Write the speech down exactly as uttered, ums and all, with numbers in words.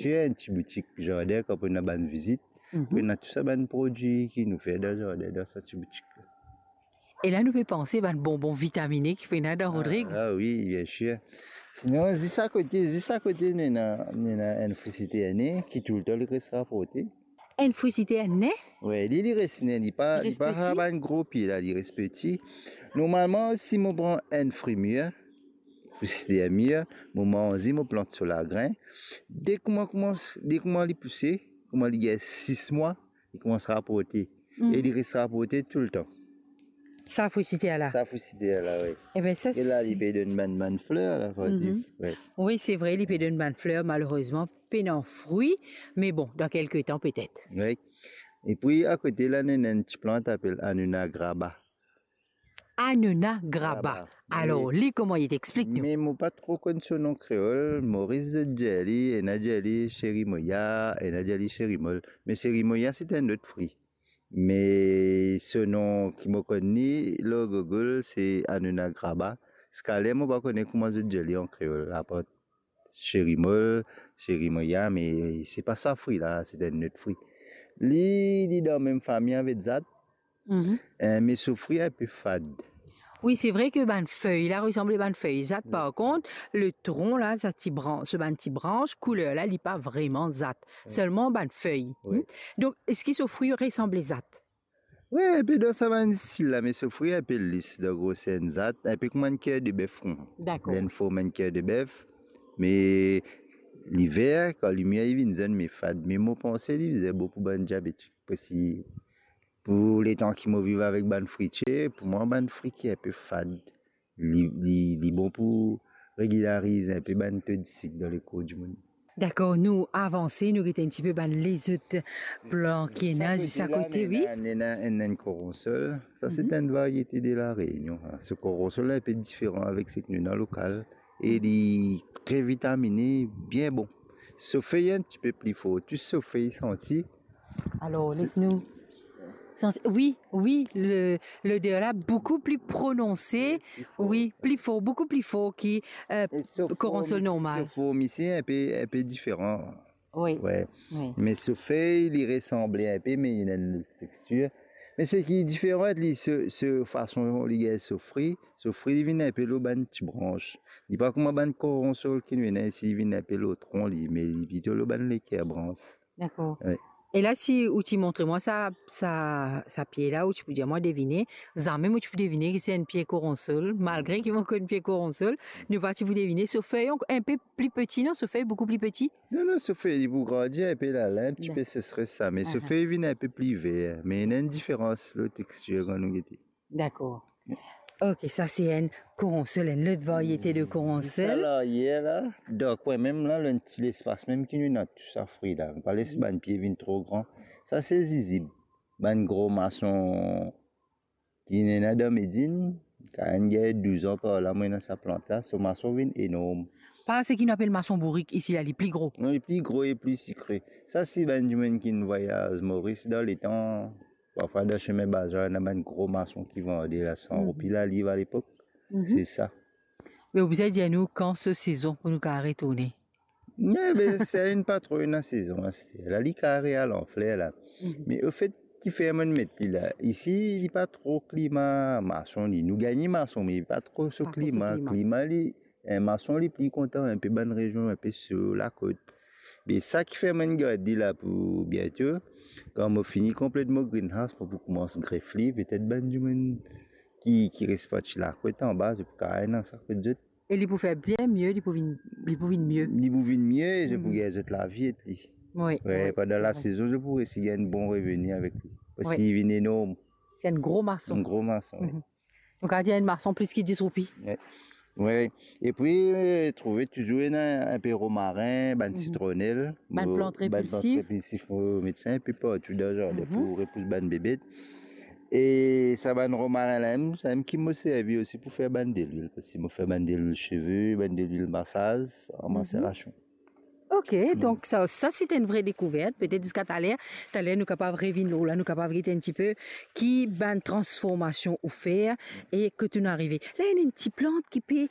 Ti enn ti boutik zardin, kan pou ena bann vizit, mhm, pou ena tou sa bann prodwi ki nou fer dan zardin, dan sa ti boutik la. E la nou pe panse bann bonbon vitamine ki pou ena dan Rodrig. Ah, ah wi, bien sir. Sinon, zis akote, zis akote, nou ena, nou ena enn fri siterne ki toultan li res raporte. Enn fri siterne? Wi, li, li res nen, li pa, li pa sa bann gro pie la, li res piti. Normalman, si mo pran enn fri mir, fri siterne mir, mo manze, mo plant so lagrin. De kouma, kouma, de kouma li pouse, kouma li gagn sis mwa, li koumans raporte. Mm. E li res raporte toultan. Sa fri siterne la? Sa fri siterne la, wi. Eben, sa... E la, si li pe donn bann, bann fler la, fode dir. Mhm. Wi. Wi, se vre, li pe donn bann fler, malerezman, pena fri, me bon, dan kelke tan petet. Wi. Epi, akote la, nou ena enn ti plant apel Annona graba. Annona graba. Graba. Alor, wi, li kouma li, explik nou. Me mo pa tro konn so nom kreol, Moris zot dir li, ena dir li cherimoya, ena dir li cherimol. Me cherimoya, se enn lot fri. Me so nom ki mo konn li lor Google, se Annona graba. Ziska ler mo pa kone kouma zot dir li an kreol, apar cherimol, cherimoya, me se pa sa fri la, se enn lot fri. Li, li dan mem fami avek zat, mhm, eh, me so fri inpe fad. Wi, se vre ke bann fey la resanble bann fey zat, wi, par kont, le tron la, sa ti bran-, so bann ti brans, kouler la, li pa vreman zat. Wi. Selman bann fey. Wi. Hmm? Donk, eski so fri resanble zat? Wi, inpe dan sa bann stil la, me so fri inpe lis dan groser enn zat, inpe kouma enn ker de bef, kouma. Dakor. Li ena form enn ker de bef, me liver, kan li mir, li vinn zenn, me fad. Me mo panse li bizin bon pou bann diabetik, parski pou letan ki mo viv avek bann fritie, pou mwa bann fri ki inpe fad, li, li, li bon pou regilariz inpe bann to disik dan lekor dimoun. Dakor, nou avanse, nou get enn tipe bann lezot plan ki ena zis akote, wi. Sa kote la, nou ena, nou ena enn, enn koronsol. Sa, se, mhm, enn variete de La Réunion, sa. So koronsol la inpe diferan avek seki nou ena lokal. E li tre vitamine, bien bon. So fey enn tipe pli for, tou so fey santi. Alor, les nou santi, wi, wi, le, loder la boukou pli prononse, wi, pli for, boukou pli for ki, eh, koronsol normal. E so form isi, so form isi inpe, inpe diferan. Wi. Wi. Wi. Me so fey, li resanble inpe, me li ena enn lot tekstir. Me seki diferan, li, so, so fason li gagn so fri, so fri li vinn inpe lor bann ti brans. Li pa kouma bann koronsol ki nou ena isi, li vinn inpe lor tron li, me li plito lor bann leker brans. Dakor. Wi. E la, si ou ti montre mwa sa, sa, sa pie la, ou ti pou dir mwa devine, zame mo ti pou devine ki se enn pie koronsol, malgre ki mo konn pie koronsol, nou pa ti pou devine. So fey ankor inpe pli piti, non? So fey boukou pli piti? Non, non, so fey li pou grandi inpe la, la, enn tipe, dakor, sesres sa, me so, aha, fey vinn inpe pli ver, me ena enn diferans lor tekstir kan nou gete. Dakor. Ok, sa se enn koronsol, enn lot variete de koronsol. Sa la, yer la, dan kwin mem la, enn ti lespas mem ki nou ena tou sa fri la. Nou pa les, mhm, bann pie vinn tro gran. Sa se zizib. Bann gro mason ki ena dan Medinn, kan enn gagn douz an par la, mo ena sa plant la, so mason vinn enorm. Pa seki nou apel mason bourik isi la, li pli gro? Non, li pli gro e pli sikre. Sa se bann dimoun ki vwayaz Moris dan letan, parfwa dan sime bazar, ena bann gro mason ki vande la, san, mhm, roupi laliv alepok. Mhm. Se sa. Me ou bizin dir nou kan so sezon pou nou kapav retourne? Me, be, sa inn pa tro ena sezon aster la, li kapav al an fler la. Mhm. Me ofet, ki fer mo'nn met li la, isi, li pa tro klima mason li. Nou gagn mason, me li pa tro so klima. Pa tro so klima. Klima li, eh, mason li pli kontan inpe bann rezion inpe so lakot. Me sa ki fer mo'nn gard li la pou biento, kan mo fini konplet mo greenhouse, mo pou koumans gref li, petet bann dimoun ki, ki res parti lakot anba, zot pou kapav al dan sa kot zot. E li pou fer bien mie, li pou vinn, li pou vinn mie. Li pou vinn mie, zot pou, mhm, gagn zot lavi ek li. Wi, wi, pandan, wi, se vre, lasezon, zot pou resi gagn bon reveni avek li. Parski, wi, li vinn enorm. Se enn gro mason. Enn gro mason, wi. Mhm. Donk, a dir enn mason plis ki dis roupi. Wi. Wi. Epi, eh, trouve touzour ena inpe romarin, bann, mhm, sitronel, bann plant repilsif. Mo, bann plant repilsif, mo met sa inpe partou dan zardin, mhm, pou repous bann bebet. E sa bann romarin la mem, sa mem ki mo servi osi pou fer bann delwil, parski mo fer bann delwil seve, bann delwil masaz, an, mhm, maserasion. Ok, mhm, donk sa, sa se enn vre dekouvert. Petet ziska taler, taler nou kapav revinn lor la, nou kapav get enn tipe ki bann transformasion ou fer e kot ou'nn arive. La, ena enn ti plant ki pe